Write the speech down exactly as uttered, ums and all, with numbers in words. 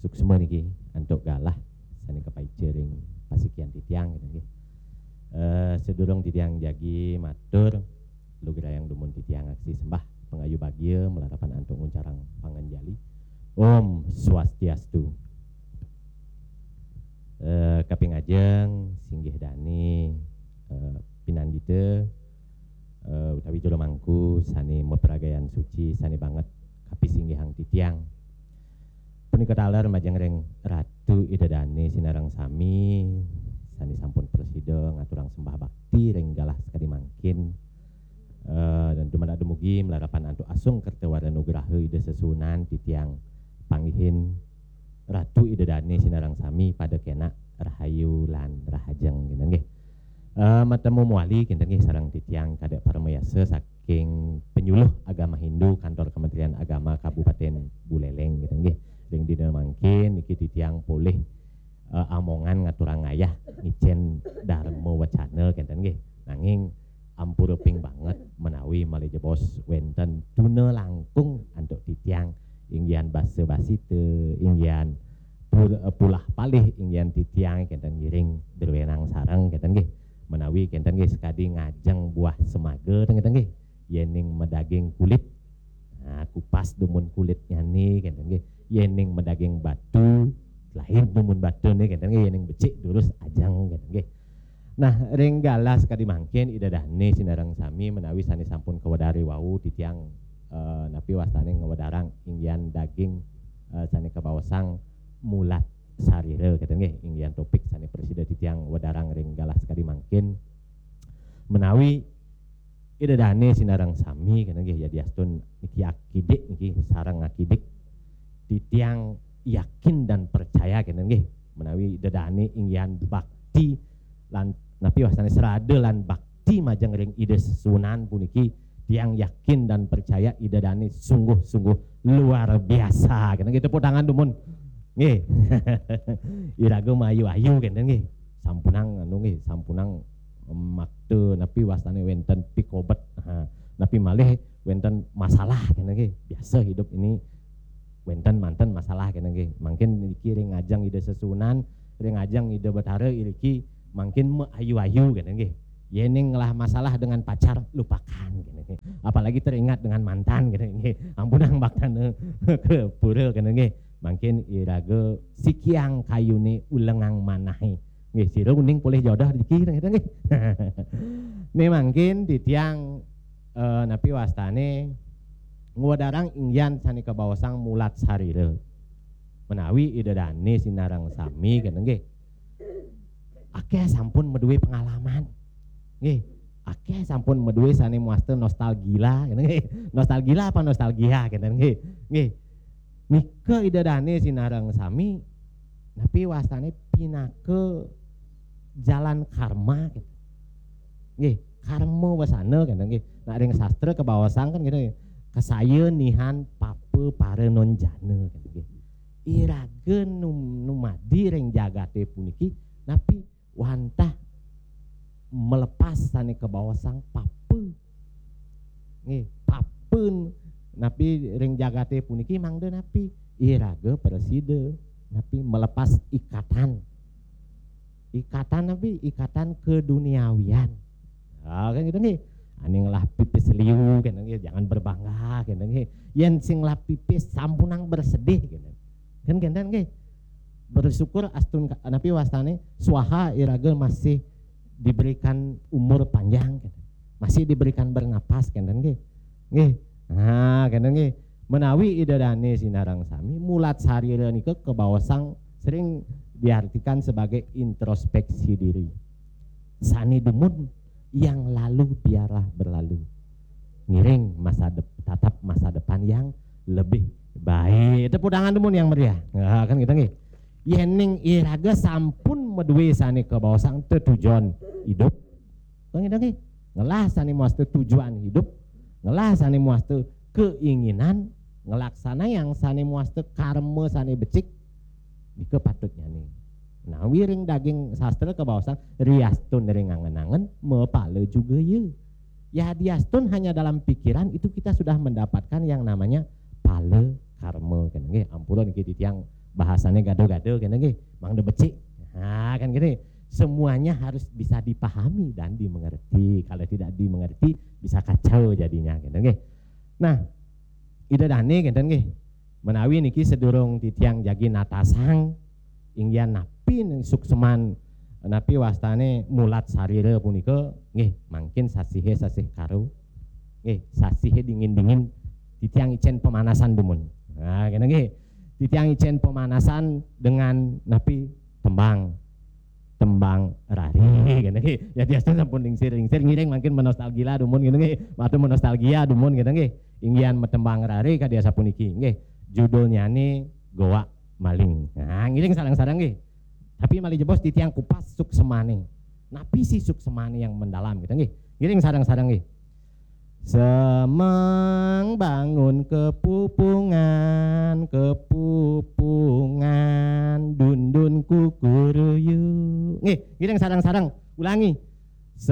Suksma niki antuk galah sané kapaica ring pasikian titiang, gitu nggih. Eh, sadurung titiang jagi matur, lugrayang dumun titiang aksi sembah pangayu bagia malarapan antuk nguncarang panganjali. Om Swastiastu. Eh, kaping ajeng singgih dané, eh, pinandita, eh, utawi jero mangku sané mapragayan suci, sané banget kapisinggihang titiang. Punika taler majeng ring Ratu Ida Dané sinareng sami, sané sampun prasida ngaturang sembah bakti ring galah sakadi mangkin. Eh, dan dumadak dumugi malarapan antuk asung kerta wara nugraha Ida Sesuunan titiang panggihin Ratu Ida Dané sinareng sami pada kénak rahayu lan rahajeng, gitu nggih. Eh, matemu mawali kinten nggih sareng titiang Kadek Paramayasa saking Penyuluh Agama Hindu Kantor Kementerian Agama Kabupaten Buleleng, gitu nggih. Ring dina mangkin niki titiang polih, eh, amongan ngaturang ayah ngicén dharma wacana kinten nggih. Nanging ampura ping banget menawi malih jebos wénten tuna langkung antuk titiang, inggihan basa basita, inggihan pur-, eh, pulah palih, inggihan titiang kinten ngiring druénang sareng kinten nggih. Menawi kinten nggih sakadi ngajeng buah semaga kinten nggih. Yéning madaging kulit, nah, kupas dumun kulitnyané kinten nggih. Yéning madaging batu, lain dumun batuné kinten nggih. Yéning becik durus ajeng kinten nggih. Nah, ring galah sakadi mangkin Ida Dané sinareng sami menawi sané sampun kawedar wau titiang, eh, napi wastané ngwedarang inggihan daging, eh, sané kabaosang mulat sarira, kinten nggih, inggihan topik sané prasida titiang wedarang ring galah sakadi mangkin. Menawi Ida Dané sinareng sami, kinten nggih, yadiastun niki akidik niki sareng akidik, titiang yakin dan percaya, kinten nggih, menawi Ida Dané inggihan bakti lan napi wastané srada lan bakti majeng ring Ida Sesuunan puniki, tiang yakin dan percaya Ida Dané sungguh-sungguh luar biasa. Kinten nggih, tepuk tangan dumun. Nggih. Iraga maayu-ayu kinten nggih. Sampunang anu nggih, sampunang, em, makta napi wastané wénten pikobet. Ha, napi malih wénten masalah kinten nggih. Biasa hidup ini wénten manten masalah kinten nggih. Mangkin niki ring ajeng Ida Sesuunan, ring ajeng Ida Betara iriki mangkin maayu-ayu kinten nggih. Yéning ngelah masalah dengan pacar, lupakan kinten nggih. Apalagi teringat dengan mantan kinten nggih. Ampunang baktana ka pura kinten nggih. Mangkin iraga sikiang kayuné ulengang manahé. Nggih, sira uning polih jodoh niki kinten nggih. Né mangkin titiang, eh, napi wastané ngwedarang inggihan sané kabaosang mulat sarira. Menawi Ida Dané sinareng sami kinten nggih. Akéh sampun madué pengalaman. Nggih, akéh sampun madué sané mawasta nostalgia, kinten nggih. Nostalgia apa nostalgia, kinten nggih. Nggih. Nika Ida Dané sinareng sami napi wastané pinaka jalan karma, kinten. Nggih, karma wasana, kinten nggih. Nak ring sastra kabaosang kan kinten nggih. Kasaya nihan papa para nonjana, kinten nggih. Iraga num-, numadi ring jagaté puniki napi wantah melepas sané kabaosang papa. Nggih, papa napi ring jagaté puniki mangda napi? Iraga prasida napi melepas ikatan. Ikatan napi? Ikatan keduniawian. Ah, kan kinten nggih. Ané ngelah pipis liu kinten nggih, jangan berbangga kinten nggih. Yén sing ngelah pipis sampunang bersedih kinten. Kan kinten nggih. Bersyukur astun ka-, napi wastané swaha iraga masih diberikan umur panjang kinten. Masih diberikan bernapas kinten nggih. Nggih. Nah, kinten nggih. Menawi Ida Dané sinareng sami, mulat sarira nika kabaosang sering diartikan sebagai introspeksi diri. Sané dumun, yang lalu biarlah berlalu. Ngiring masa dep-, tatap masa depan yang lebih baik. Tepuk tangan dumun yang meriah. Nah, kan kinten nggih. Yéning iraga sampun madué sané kabaosang tetujon hidup. Kan kinten nggih. Ngelah sané mawasta tujuan hidup, ngelah sané mawasta keinginan, ngelaksanayang sané mawasta karma sané becik, nika patutnyané. Nah, wiring daging sastra kabaosang riastun ring angen-angen, mapala juga ya. Ya, diastun hanya dalam pikiran itu kita sudah mendapatkan yang namanya pala karma, kan nggih. Ampura niki titiang Bahasanya gado-gado, kena nggih, mangda becik. Nah, kan gini. Semuanya harus bisa dipahami dan dimengerti. Kalau tidak dimengerti, bisa kacau jadinya, kena nggih. Nah, Ida Dane, kenten nggih. Menawi niki sedurung titiang jagi natasang, inggihan napi ning sukseman, napi wastane mulat sarira punika, nggih, mangkin sasihe sasih karo. Nggih, sasihe dingin-dingin, titiang icen pemanasan dumun. Nah, kena nggih. Titiang icen pemanasan dengan napi, tembang. Tembang rari, kena nggih. Ya, biasa sampun lingsir-lingsir, ngiring mangkin menostalgia dumun, kena nggih. Matur menostalgia dumun, kena nggih. Inggihan metembang rari kadi asapuniki, nggih. Judulnyane Goa Maling. Nah, ngiring sareng-sareng nggih. Tapi malih jebos titiang kupas suksemane. Napi sih suksemane yang mendalam, gitu nggih. Ngiring sareng-sareng nggih. Semeng bangun kepupungan, kepupungan, dundun kukuruyu. Nggih, ngiring sareng-sareng. Ulangi.